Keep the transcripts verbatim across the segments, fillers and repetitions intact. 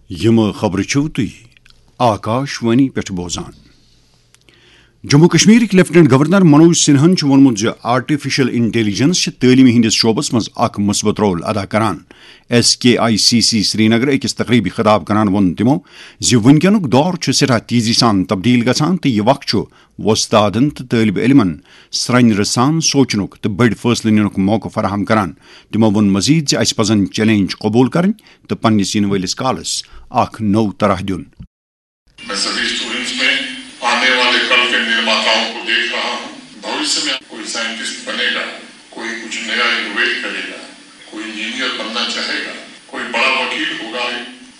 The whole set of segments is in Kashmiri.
یِم خبرٕ چھِو تُہۍ آکاش وانی پٮ۪ٹھ بوزان۔ جموں کشمیرٕکۍ لیفٹیننٹ گورنر منوج سنہاہن چھُ ووٚنمُت زِ آرٹیفیشل انٹیلیجنس چھِ تعلیمہِ ہٕنٛدِس شعبس منٛز اکھ مثبت رول ادا کران۔ S K I C C Srinagar أکِس تقریبی خطاب کران ووٚن تِمو زِ وٕنکیٚنُک دور چھُ سٮ۪ٹھاہ تیزی سان تبدیل گژھان تہٕ یہِ وقت چھُ وۄستادن تہٕ طٲلب علمن سرٛنۍ رژھان سونچنُک تہٕ بٔڑۍ فٲصلہٕ نِنُک موقعہٕ فراہم کران۔ تِمو ووٚن مزید زِ اسہِ پزن چیلنج قبول کرٕنۍ تہٕ پننِس یِنہٕ وٲلِس کالس اکھ نوٚو طرح دیُن۔ میں سبھی اسٹوڈنٹس میں آنے والے کل کے نرماتاؤں کو دیکھ رہا ہوں۔ بھوشیہ میں کوئی سائنٹسٹ بنے گا، کوئی کچھ نیا انوویٹ کرے گا، کوئی انجینئر بننا چاہے گا، کوئی بڑا وکیل ہوگا۔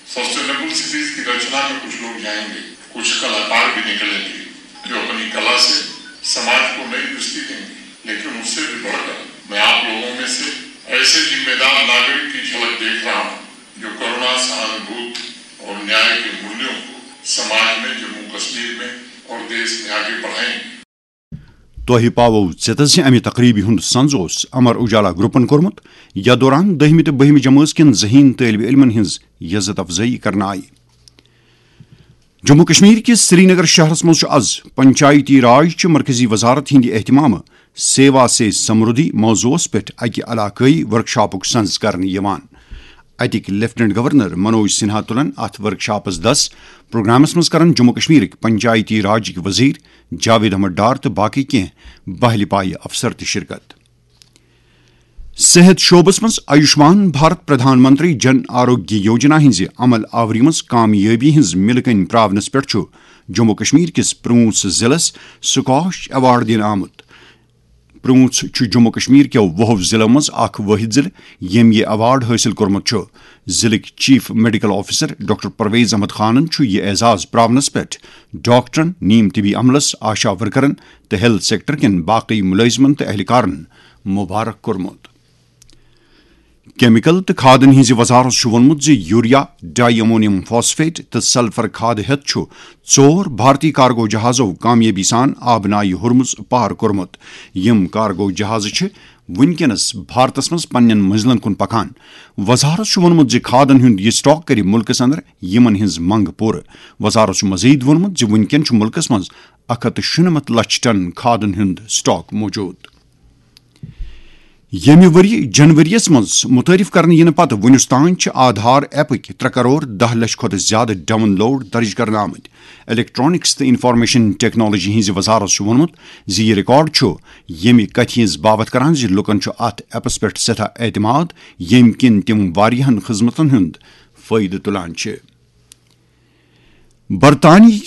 سسٹینیبل سٹیز کی رچنا میں کچھ لوگ جائیں گے، کچھ کلاکار بھی نکلیں گے جو اپنی کلا سے سماج کو نئی دشتی دیں گے۔ لیکن اس سے بھی بڑھ کر میں آپ لوگوں میں سے ایسے ذمہ دار ناگرک کی جھلک دیکھ رہا ہوں جو کرونا سہانوبھوت اور نیائے کے مولیوں کو سماج میں، جموں کشمیر میں اور دیش میں آگے بڑھائیں گے۔ تۄہہِ پاوو ژیتس زِ امہِ تقریبہِ ہُنٛد سنز اوس امر اجالا گروپن کوٚرمُت، یتھ دوران دٔہمہِ تہٕ بٔہمہِ جمٲژ کٮ۪ن ذہین طٲلب علمن ہٕنٛز عزت افزٲیی کرنہٕ آیہِ۔ جموں کشمیر کِس سرینگر شہرس منٛز چھُ از پنچایتی راج چہِ مرکزی وزارت ہٕنٛدِ اہتمامہٕ سیوا سے سمردھی موضوعس پٮ۪ٹھ اکہِ علاقٲیی ورکشاپُک سنز کرنہٕ یِوان۔ اتِکۍ لیفٹیننٹ گورنر منوج سنہا تُلن اتھ ورکشاپس دس۔ پروگرامس منٛز کرن جموں کشمیرٕکۍ پنچایتی راجٕکۍ وزیر جاوید احمد ڈار تہٕ باقٕے کینٛہہ بہلہِ پایہِ افسر تہِ شرکت۔ صحت شعبس منٛز آیوشمان بھارت پردھان منتری جن آروگیہ یوجنا ہٕنٛزِ عمل آوری منٛز کامیٲبی ہٕنٛز مِلہٕ کٔنۍ پراونس پٮ۪ٹھ چھُ جموں کشمیر کِس پرٛوٗنٛژھ ضلعس سکاش ایوارڈ دِنہٕ آمُت۔ پرٛوٗنٛژھ چھُ جموں کشمیر کیو وُہو ضلعو منٛز اکھ وٲحد ضلعہٕ ییٚمۍ یہِ ایوارڈ حٲصِل کوٚرمُت چھُ۔ ضلعٕکۍ chief medical officer doctor Parvez Ahmad خانن چھُ یہِ اعزاز پراونس پٮ۪ٹھ ڈاکٹرن، نیم طبی عملس، آشا ورکرن تہٕ ہیلتھ سیکٹر کٮ۪ن باقٕے مُلٲزمن تہٕ اہلکارن مبارک کوٚرمُت۔ کیمیکل تہٕ کھادن ہٕنٛزِ وزارت چھُ ووٚنمُت زِ یوریا، ڈائی امونیم فاسفیٹ تہٕ سلفر کھادٕ ہٮ۪تھ چھُ ژور بھارتی کارگو جہازو کامیٲبی سان آبہٕ نایہِ ہرمز پار کوٚرمُت۔ یِم کارگو جہازٕ چھِ وٕنکیٚنَس بھارتَس منٛز پننٮ۪ن منزلن کُن پکان۔ وزارت چھُ ووٚنمُت زِ کھادن ہُنٛد یہِ سٹاک کرِ مُلکَس اندر یِمن ہٕنٛز منگ پوٗرٕ۔ وزارت چھُ مزید ووٚنمُت زِ وٕنکیٚن چھُ مُلکَس منٛز اکھ ہتھ تہٕ شُنمتھ لچھ ٹن کھادن ہُنٛد سٹاک موجود۔ ییٚمہِ ؤرۍ جنوریَس منٛز مُتعارف کرنہٕ یِنہٕ پتہٕ وُنیُس تام چھِ آدھار ایپٕکۍ ترٛےٚ کرور دَہ لچھ کھۄتہٕ زیادٕ ڈاؤن لوڈ درٕج کرنہٕ آمٕتۍ۔ الیکٹرانکس تہٕ انفارمیشن ٹیکنالوجی ہٕنٛزِ وزارت چھُ ووٚنمُت زِ یہِ ریکارڈ چھُ ییٚمہِ کتھِ ہٕنٛز باوتھ کران زِ لوٗکن چھُ اتھ ایپس پٮ۪ٹھ سٮ۪ٹھاہ اعتماد، ییٚمہِ کِنۍ تِم واریاہن خدمتن ہُنٛد فٲیدٕ تُلان چھِ۔ برطانیہٕکۍ